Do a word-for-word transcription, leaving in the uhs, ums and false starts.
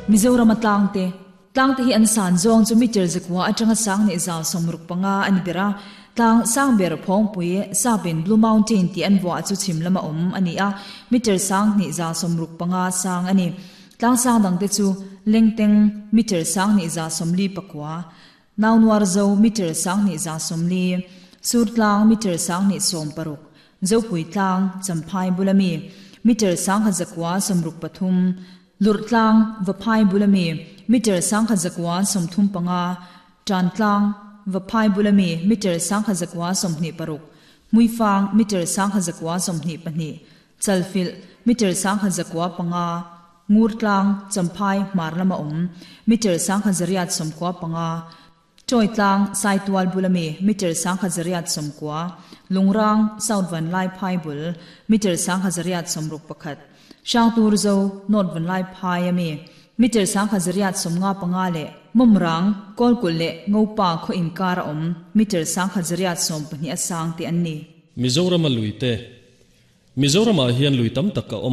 Mizoram a tlang te tlang te hi an san zawng chu meter zakua atanga sang ni za somruk panga ani bera tlang sang ber phongpui sapin Blue Mountain ti an wa chu chim lama om ani a meter sang ni za somruk panga sang ani tlang sang dang te chu lengteng meter sang ni za somli pakwa naunwar zo meter sang ni za somli surtlang meter sang ni som paruk zopui tlang champhai bulami meter sang kha zakwa somruk pathum lurtlang vaphai bulami meter sang kha zakwa somthum panga tantlang vaphai bulami meter sang kha zakwa somhni paruk muifang meter sang kha zakwa somhni pahni chalfil meter sang kha zakwa panga ngurtlang champhai marlama om meter sang kha zariat somkwa panga choitlang saitual bulami meter sang kha zariat somkwa lungrang south van lai phai bul meter sang kha zariat somruk pakhat shangtur zo north van lai phai ami meter sang kha zariat somnga panga le mumrang kolkul le ngopa kho inkar om meter sang kha zariat som pahnih asang te anni Mizoram a luite Mizoram a hian lui tam tak a